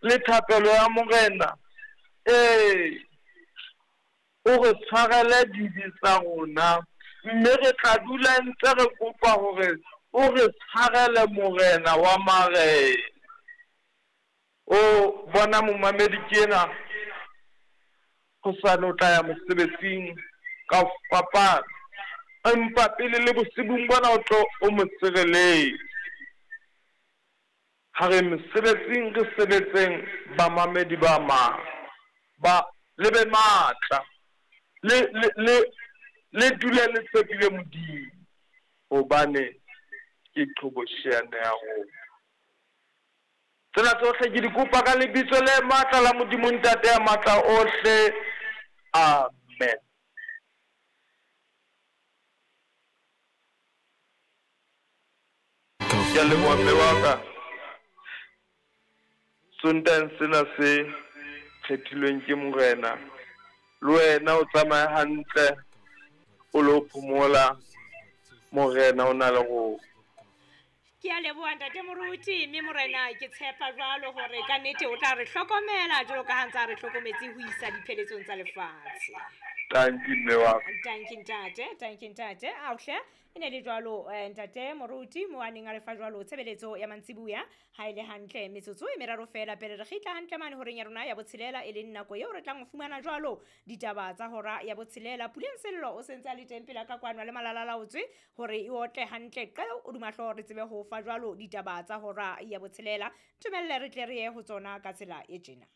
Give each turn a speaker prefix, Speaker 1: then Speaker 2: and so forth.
Speaker 1: Le thapelo ya Morena, ee, o re tshwarele dibe tsa rona, mme re tla dula ntse re kopa hore o re tshwarele Morena wa marena. O bona momamedi ke ena, hosane o tla ya mosebetsing ka ho fapana, empa pele le bosibung bona o tlo o mo sireletse. Ha re mesebetsing re sebetseng bamamedi ba ma ba le be matla le le le le dule le tshepile Modimo hobane ke qhobosheane ya rona. Tsena tsohle ke di kopa ka lebitso le matla la Modimo Ntate ya matla ohle. Amen. Ke a leboha mme wa ka. Sontaheng sena se kgethilweng ke Morena, le wena o tsamaye hantle o lo phomola, Morena o na le rona.
Speaker 2: Ke a leboha ntate moruti, mme Morena ke tshepa jwalo hore ka nnete o tla re hlokomela jwalo ka ha ntse a re hlokometse ho isa dipheletsong tsa lefatshe.
Speaker 1: Tanki mme wa ka.
Speaker 2: Tanki ntate, tanki ntate. Aohle, e ne le jwalo eh, ntate moruti mo a neng a re fa jwalo tshebeletso ya mantsibuya. Ha e le hantle metsotso e meraro feela pele re kgitla hantle mane horeng ya rona ya botshelela, e leng nako eo re tlang ho fumana jwalo ditaba tsa hora ya botshelela. Puleng Sello o sentse a le teng pela ka kwano le malalalaotswe hore e otle hantle qeo o duma hlooho re tsebe ho fa jwalo ditaba tsa hora ya botshelela. Ntumelle re tle re ye ho tsona ka tsela e tjena.